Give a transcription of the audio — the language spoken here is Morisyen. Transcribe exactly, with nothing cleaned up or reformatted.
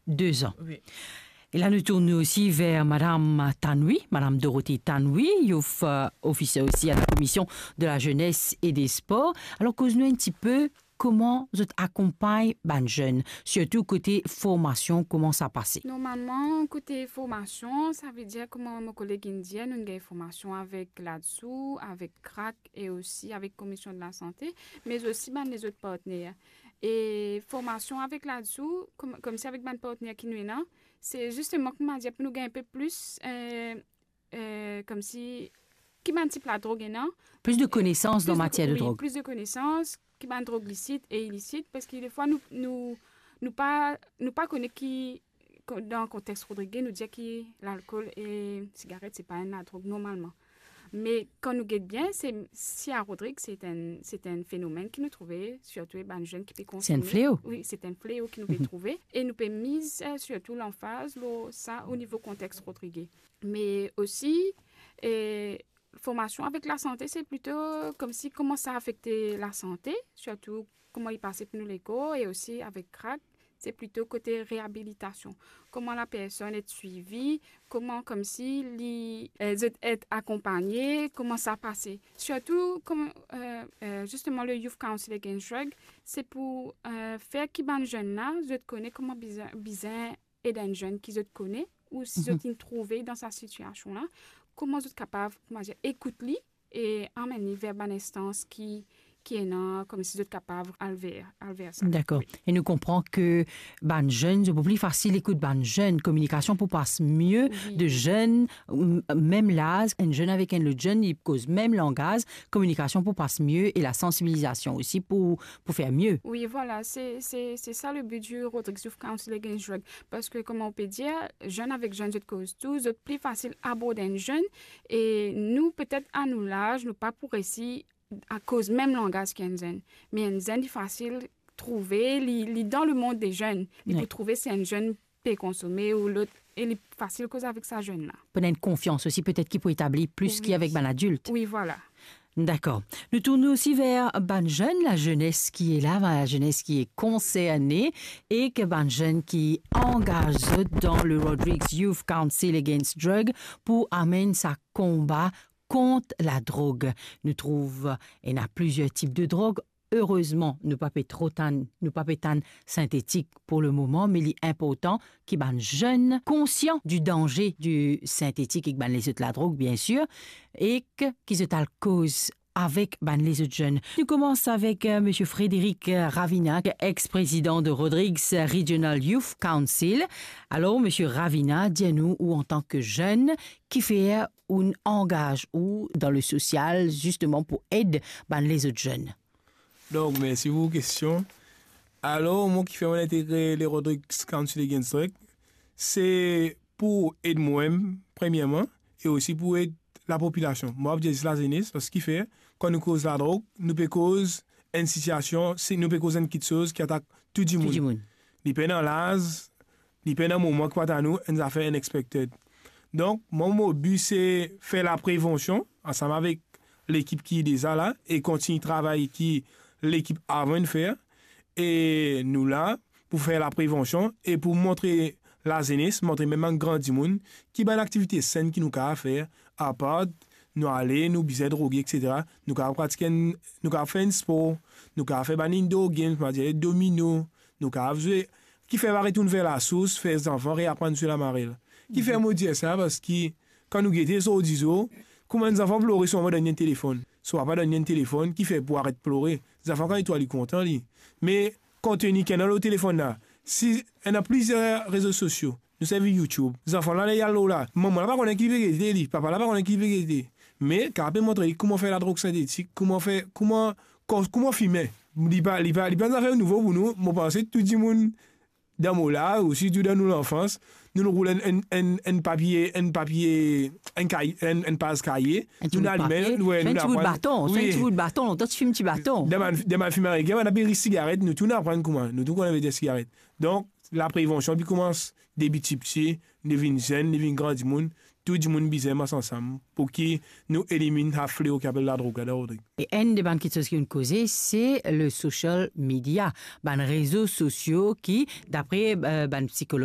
deux ans. Oui. E la, nou tourn nou osi ver Madam Tanwi, Madam Dorothée Tanwi, youth, euh, officer osi à la Commission de la Jeunesse et des Sports. Alor, koz nou enn tipe kouma zot akonpagn bann zenn, sirtou kote formasion, kouma sa pase? Normalman, kote formasion, savedir kouma mo koleg inn dir, nou gagn formasion avek LADSU, avek CRAC e osi avek Commission de la Santé, me osi bann lezot partner. E formasion avek LADSU, kom-, koumsi avek bann partner ki nou ena, se zisteman, kouma dir, pou nou gagn enpe plis, euh, euh, koumsi, ki bann tip ladrog ena. Plis de konesans dan matier de drog. Plis de konesans, ki bann drog lisit e ilisit, parski defwa nou, nou, nou pa, nou pa kone ki, ko-, dan kontex rodrigien, nou dir ki lalkol e sigaret, se pa enn ladrog normalman. Me kan nou get bien, se, si a Rodrig, se enn, se enn fenomenn ki nou trouve, sirtou bann zenn ki pe konsome. Se enn fleo. Wi, se enn fleo ki nou pe trouve. E nou pe miz, euh, sirtou lanfaz lor sa o nivo kontex rodrigien. Me osi, euh, formasion avek lasante, se plito koumsi kouma sa afekte lasante, sirtou kouma li pase pou nou lekor, e osi avek CRAC, se plito kote reabilitasion. Kouma lapersonn et swivi, kouma koumsi li, euh, zot et akonpagne, kouma sa pase. Sirtou, kouma, euh, euh, zisteman, le Youth Council Against Drug, se pou, euh, fer ki bann zenn la, zot kone kouma bizin, bizin ed enn zenn ki zot kone, ou si zot inn trouve dan sa sitiasion la, kouma zot kapav, kouma dir, ekout li e amenn li ver bann instans ki, ki ena, koumsi zot kapav al ver, al ver sa. Dakor. Wi. E nou konpran ke bann zenn, zot pou pli fasil ekout bann zenn, kominikasion pou pas mie de zenn, m-, mem laz, enn zenn avek enn lot zenn, li koz mem langaz, kominikasion pou pas mie e lasansibilizasion osi pou, pou fer mie. Wi, vwala, se, se, se sa le bi di Rodrigues Youth Council Against Drug. Parski, kouma ou pe dir, zenn avek zenn, zot koz tou, zot pli fasil abord enn zenn, e nou, petet a nou laz, nou pa pou resi a koz mem langaz ki enn zenn. Me enn zenn, li fasil trouve, li, li dan lemond de zenn. Li pou trouve si enn zenn pe konsome ou lot, e li fasil koz avek sa zenn la. Pou ena enn konfians osi, petet ki pou etabli plis ki avek bann adilt. Wi, vwala. Dakor. Nou tourn osi ver bann zenn, lazenes ki e la, bann lazenes ki e konserne, ek bann zenn ki angaz zot dan le Rodrigues Youth Council Against Drug pou amenn sa konba kont ladrog. Nou trouv ena plizier tip de drog. Erezman, nou pa pe tro tann, nou pa pe tann sintetik pou le moman, me li inportan ki bann zenn konsian di danze di sintetik ek bann lezot ladrog, biensir, ek ki zot al koz avek bann lezot zenn. Nou koumans avek, euh, Misie Frédéric, euh, Ravina, ex-prezidan de Rodrigues Regional Youth Council. Alor, Misie Ravina, dir nou, ou antan ke zenn, kifer ou'nn angaz ou dan le sosial, zisteman pou ed bann lezot zenn? Donk, mersi pou kestion. Alor, mwa, kifer mo'nn integre le Rodrigues Council Against Drug, se pou ed mwa-mem, premierman, e osi pou ed lapopilasion. Mwa, pou dir zis lazenes, parski kifer, kan nou koz ladrog, nou pe koz enn sitiasion, si nou pe koz enn kiksoz ki atak tou dimoun. Tou dimoun. Li pena laz, li pena moman ki pou atann ou, enn zafer unexpected. Donk, mwa, mo bi se fer laprevansion, ansam avek lekip ki deza la, e kontign travay ki lekip avan inn fer, e nou la pou fer laprevansion e pou montre lazenes, montre mem bann gran dimoun ki bann aktivite senn ki nou kapav fer, apar nou ale, nou bizin droge, etsetera. Nou kapav pratik enn, nou kapav fer enn spor, nou kapav fer bann indoor games, kouma dir domino, nou kapav zwe, kifer pa retourn ver lasours, fer zanfan reaprann swiv lamarel. Kifer mo dir sa? Parski kan nou gete zordi zour, kouma enn zanfan plore, so manman donn li enn telefonn, so papa donn li enn telefonn, kifer pou aret plore. Zanfan kan li trouv li kontan li. Me konteni ki ena lor telefonn la, si ena plizier rezo sosio, nou servi YouTube. Zanfan la, ler li al lor la, manman la pa kone ki li pe gete li, papa la pa kone ki li pe gete. Me kapav pe montre li kouma fer ladrog sintetik, kouma fer, kouma, ko-, kouma fime. Li pa, li pa, li pa enn zafer nouvo pou nou. Mo panse tou dimoun dan mo laz, osi tou dan nou lanfans, nou, nou roul enn, enn, enn, enn papie, enn papie, enn kay-, enn, enn paz kaye, nou alime, wi, nou aprann. Enn ti bout baton, enn ti bout baton, lontan ti fim ti baton. Dan bann, dan bann fim ameriken, bann apel sigaret, nou tou nou aprann kouma, nou tou kone vedir sigaret. Donk, laprevansion, li koumans depi tipti, li vinn zenn, li vinn gran dimoun, tou dimoun bizin mars ansam pou ki nou eliminn sa fleo ki apel ladrog la, dan Rodrig. E enn de bann kiksoz ki nou koze, se le social media, bann rezo sosio ki, dapre, eh, bann psikolog,